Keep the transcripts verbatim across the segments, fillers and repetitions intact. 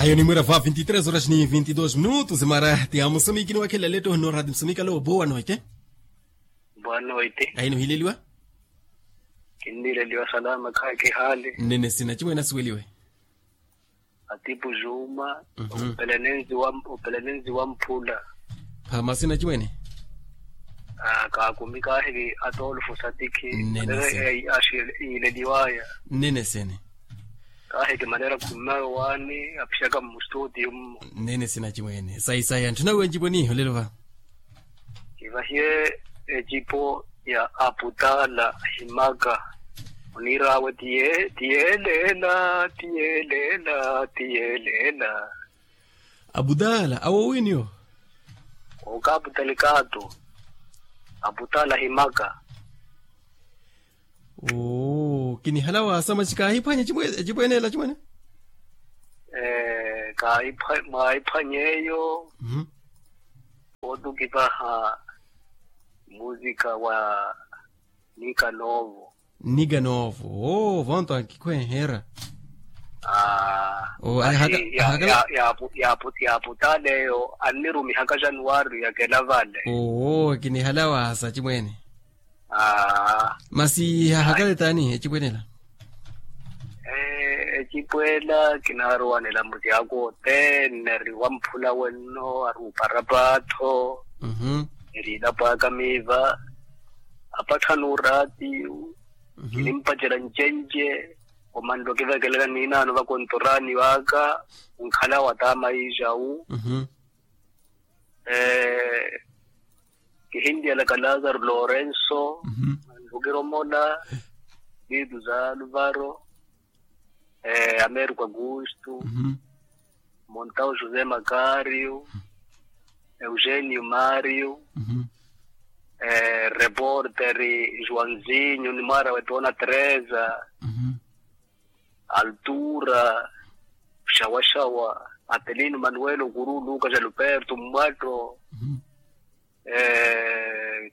Ayo nimwira va vinti tres horas ni vinti dos minutos mara ti amusamikini wakhelela letto hino rati musamikalo boa noite. Boa noite. Aino hileliwa. Kinnileliwa salama khayi kihali. Nnene sina chimwene asiweliwe. Atipu juma. Opelene nzi wa mphula. Phama sina chimwene. Kaakumi kaahili atolufo satikhi. Nnene sina. Iileliwaya. Nnene sene. Kaahiki manera khummaya owaani aphiyaka mmustuti yummo. Nnene sina chimwene sayi sayi anthu nawe ncipo niiho lelo va. Kivahiye ecipo ya aputala himaka. Oniir'awe tiye tiyelela tiyelela tiyelela. Aputala awo wiiniyo. Okaputalikaatu. Aputala himaka. Oo kinihala waasa masi kaahiphwanya ecipo eneela chimwene. Ee mwaahiphwanya eyo. Ootukipaha musika wa nikanovo. Nikanovo oo vonto ankikhwenhera. Aa oo ahaka ahaka. Yaaputala eyo annirumihaka januwari yakela vale. Oo kinihala waasa chimwene. Aa masi hahakale taani ecipwene ela. Ecipwela kinaarowa nilamuti ako othene ari wamphula wenno ari upara paatho. Eri ilapo aka miiva apatthani oraatiyu. Kinimpacela ncenje omanle okivekelaka niinaano vakontorani vaaka onkhala wataama iijawu. Kihinliyalaka lazaro lorenso. Nlukiromola vitu za alvaro. Americo augusto. Montau josé macario. Eugenio mario. Reporteri joãozinho ni mwaara wetona teresa. Altura xawaxawa. Atelino manuel okuru luka jaluperto mmwatto.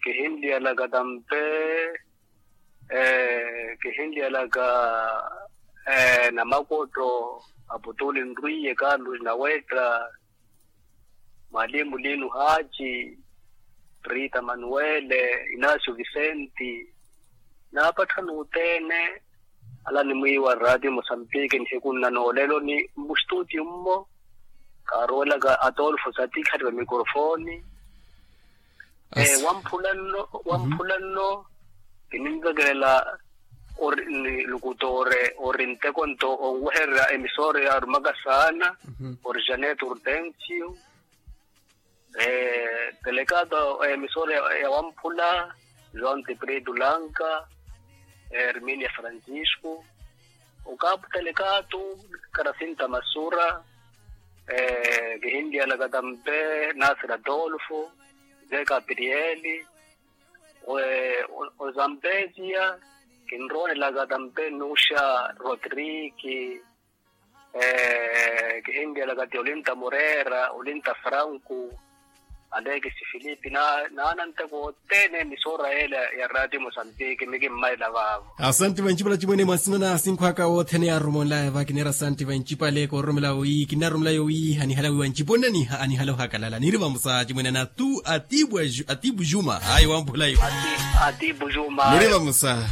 Kihinliyalaka tampe. Kihinliyalaka namakotto. Aputuli nrwiye carlos nawetta. Mwalimu lino haci. Rita manuele inacio vicenti. Naapatthani othene. Ala nimwiiwa rati musambiki nihiku nna noolelo ni mmustuti mmo. Kaaruwelaka atolfo satikha ni vamikorofoni. Wamphula nno wamphula nno. Kininvekelela ori ni lukutore ori nteko nto onwehererya emisore yaarumaka saana. Ori janet hortensio. Telekato emisore ya wamphula. João tiprito lanka. Herminia francisco. Okapu telekato. Karasinta masura. Kihinliyalaka tampe nasir adolfo. Ze gabrieli. Ozampesia. Kinroonelaka tampe nuxa rodriki. Kihinliyalaka ti olinta morera olinta franco. Alekisi filipi naana nteko othene emisora yela ya ratio mosambiki mikimmaila vaavo. Asanti vancipale chimwene mwa nsina na asinkhwaka othene yaarumonlaya vakineera asanti vancipale koororomela wi kinarumelayo wi anihala wi vancipo nnaniha anihala ohakalala niri vamusa chimwene na tu atibu juma ayi wamphulayo. Atibu juma niri vamusa.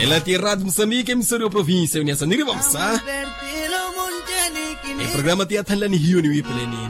Ela ti erati musamike emisori oprovincia yuniasa niri vamusa. Eprograma ti yathanlani hiyo niwipeleni.